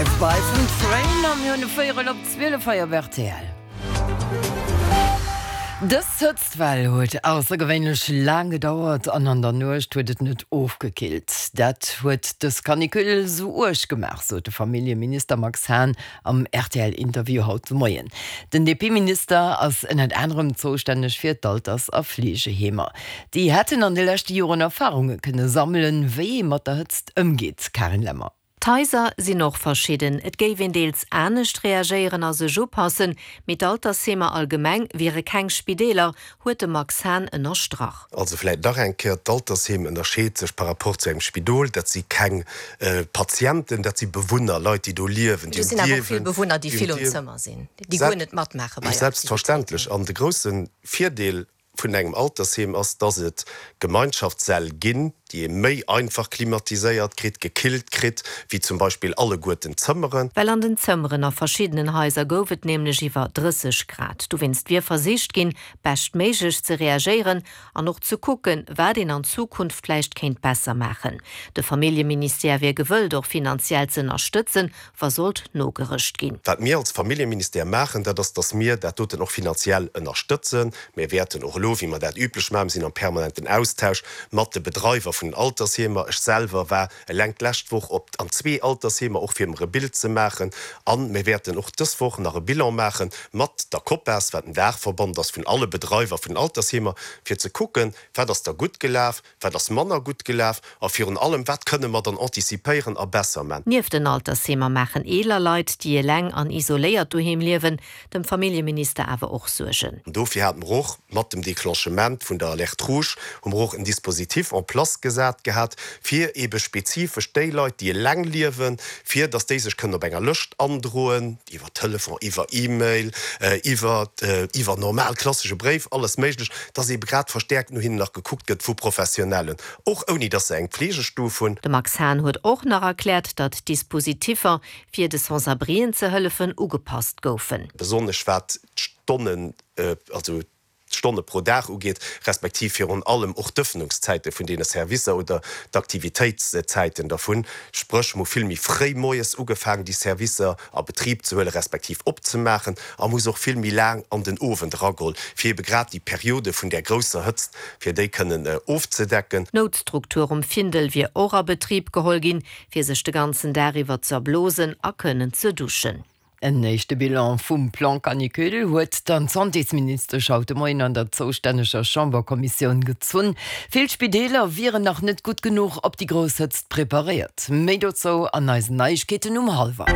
Drive By vun Train a mir hunn e Véierel op 12 hei op rtl. Dës Hëtztwell huet aussergewéinlech laang gedauert an an der Nuecht huet et net ofgekillt. Dat huet dës Canicule esou uerg gemaach, sot de Familljeminister Max Hahn am RTL-Interview haut de Moien. Den DP-Minister ass ënnert anerem zoustänneg fir d'Alters a Fleegeheemer. Déi hätten an de leschte Joren Erfarunge kënne sammelen, wéi ee mat der Hëtzt ëmgeet. Karin Lemmer. D'Haiser sinn och verschidden. Et géif een deels anescht reagéieren a sech upassen, mee d'Altersheemer allgemeng wiere keng Spideeler, huet de Max Hahn ënnerstrach. Also vläit nach eng Kéier, D'Altersheem ënnerscheet sech par rapport zu engem Spidol. Dat si keng Patienten, dat si Bewunner, Leit, déi do liewen. Do sinn awer och vill Bewunner, déi vill um Zëmmer sinn, déi guer net matmaache bei Aktivitéiten. Selbstverständlech. An de grousse Virdeel vun engem Altersheem ass, dass et Gemeinschaftssäll ginn, déi ee méi einfach klimatiséiert kritt, gekillt kritt, wéi zum Beispill alleguerten d'Zëmmeren. Well an den Zëmmeren a verschiddenen Haiser gouf et nämlech iwwer 30 Grad. Dowéinst wier versicht ginn, beschtméiglech ze reagéieren an och ze kucken, wat een an Zukunft vläicht kéint besser maachen. De Familljeministère wier gewëllt, och finanziell ze ënnerstëtzen, wa sollt nogerëscht ginn. Wat mir als Familljeministère maachen, dat ass, dass mir dat doten och finanziell ënnerstëtzen. Mir wäerten och elo, wéi mer dat üblech maachen, mir sinn am permanenten Austausch mat de Bedreiwer vun den Altersheemer. Ech selwer war eleng d'lescht Woch op an zwee Altersheemer, och fir mer e Bild ze maachen. A mir wäerten och dës Woch nach e Bilan maache mat der COPAS, wat en Daachverband ass vun alle Bedreiwer vun den Altersheemer, fir ze kucken, wat ass da gutt gelaf, Wat ass manner gutt gelaf a virun allem, wat kënne mer dann anticipéieren a besser man? Nieft den Altersheemer maachen eeler Leit, déi eleng an isoléiert doheem liewen, dem Familljeminister awer och Suergen. An dofir hate mer och mat dem Declenchement vun der Alerte rouge, hu mer och en Dispositif en place gesat gehat, fir eebe spezifesch déi Leit, déi eleng liewen, fir datt déi sech kënnen op enger Lëscht androen, iwwer Telefon, iwwer E-Mail, iwwer iwwer normal klassesche Bréif, alles méiglech, dass eebe grad verstäerkt no hinnen nach gekuckt gëtt vu Professionellen, och ouni dass se eng Pflegestuf hunn. De Max Hahn huet och nach erkläert, datt d'Dispositiffer, fir de Sans-abrien ze hëllefen, ugepasst goufen. Besonnesch wat d'Stonnen, also d'Stonne pro Dag ugeet, respektiv virun allem och d'Ëffnungszäite vun deene Servicer oder d'Aktivitéitszäiten dervun. Spréch, mer hu vill méi fréi moies ugefaangen, déi Servicer a Betrib ze huelen, respektiv opzemaachen, a mer hu se och vill méi laang an den Owend erageholl, fir ebe grad déi Periode vun där grousser Hëtzt, fir déi kënnen ofzedecken. D'Noutstruktur um Findel wier och a Betrib geholl ginn, fir sech de ganzen Dag iwwer ze erblosen a kënnen ze duschen. En éischte Bilan vum Plan Canicule huet dann d'Santésministesch haut de Moien an der zoustänneger Chamberkommissioun gezunn. Vill Spideeler wieren nach net gutt genuch op déi grouss Hëtzt preparéiert. Méi dozou an eisen Neiegkeeten um hallwer.